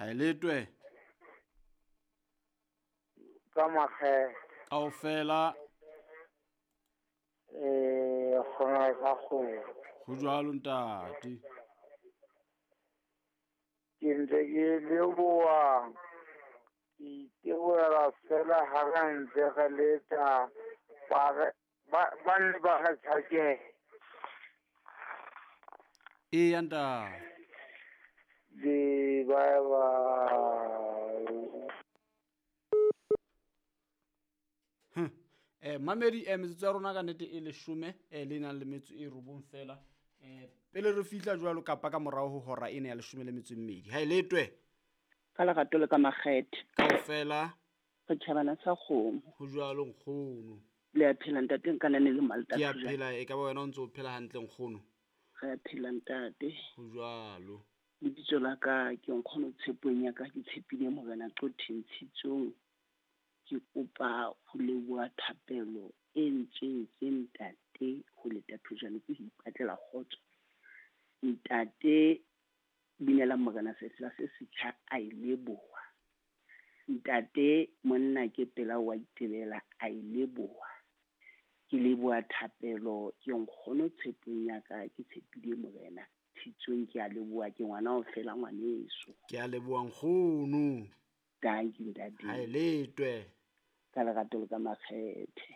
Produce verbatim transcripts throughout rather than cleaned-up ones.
Ha e letwe. Ka makgethe. Kaofela. Eh, kgona ka kgomo. Ho jwalo ntate. Ke ntse ke leboha. Ke itebohela fela ha re ntse re leta ba re ba ba nne ba re tjhakele. Eya ntate. Di bye bye. Hm. Eh mamedi eh metsotso ya rona ka nnete e leshome eh le nang le metso e robong fela. Eh pele re fihla jwalo kapa ka morao ho hora ena ya leshome le metso e mmedi. Ha e letwe. Ka lerato le ka makgethe. Kaofela. Re tjhabana sa kgomo. Ho jwalo nkgono. Le a phela ntate nka nane le Malta. Ke a phela e ka ba wena o ntse o phela hantle nkgono. Re a phela ntate. Ho jwalo. Lebitso la ka ke nkgono Tshepong ya ka ke tshepile Morena Qotheng Tshitsong. Ke kopa ho leboha thapelo e ntseng tse ntate ho leta thojane ke ho ipatlela kgotso. Ntate binela Morena sefela se setjha a e leboha. Ntate monna ke pela wa itebela a e leboha. Ke leboha thapelo ke nkgono Tshepong ya ka ke tshepile Morena Tshitsong ke a leboha ke ngwana o fela ngwaneso. Ke a leboha nkgono. Thank you ntate. Ha e letwe. Ka lerato le ka makgethe.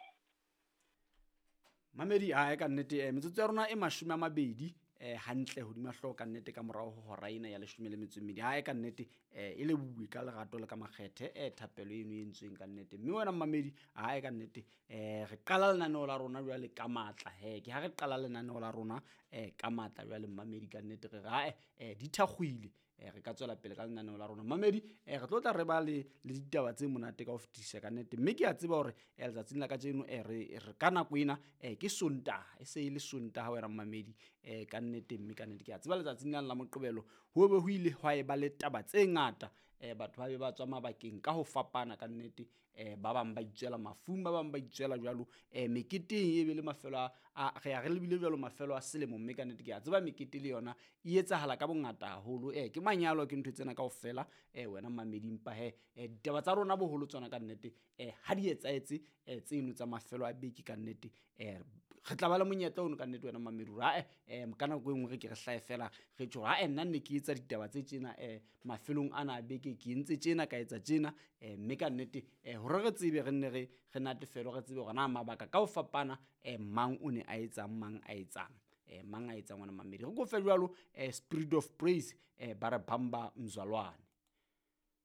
Mamedi a e ka nnete eh metsotso ya rona e mashome a mabedi eh hantle hodima hlooho ka nnete ka morao ho hora ena ya leshome le metso e mmedi. Ha e ka nnete eh e lebohuwe ka lerato le ka makgethe eh thapelo eno e entsweng ka nnete. Mme wena mamedi ha e ka nnete eh re qala lenaneo la rona jwale ka matla he ke ha re qala lenaneo la rona eh ka matla jwale mamedi ka nnete re re ha eh di thakgwile re ka tswela pele ka lenaneo la rona mamedi eh re tlo tla re ba le le ditaba tse monate ka ho fetisa ka nnete mme ke a tseba hore eh letsatsing la kajeno eh re re ka nako ena eh ke Sontaha e se e le Sontaha wena mamedi eh ka nnete mme ka nnete ke a tseba letsatsing la la Moqebelo ho be ho ile hwa e ba le taba tse ngata eh batho ba be ba tswa mabakeng ka ho fapana ka nnete eh ba bang ba itswela mafung ba bang ba itswela jwalo eh meketeng e be le mafelo a re a re lebile jwalo mafelo a selemo mme ka nnete ke a tseba mekete le yona e etsahala ka bongata haholo eh ke manyalo ke ntho tsena kaofela eh wena mamedi mpa he eh ditaba tsa rona boholo tsona ka nnete eh ha di etsaetse eh tseno tsa mafelo a beke ka nnete eh re tla ba le monyetla ono ka nnete wena mamedi ra eh eh ka nako e nngwe re ke re hlae fela re tjho ha nna nne ke etsa ditaba tse tjena eh mafelong ana a beke ke entse tjena ka etsa tjena eh mme ka nnete eh hore re tsebe re nne re re natefelo re tsebe hore na mabaka ka ho fapana eh mang o ne a etsang mang a etsang eh mang a etsang wena mamedi re go fe jwalo eh Spirit of Praise eh ba re bamba mzalwane.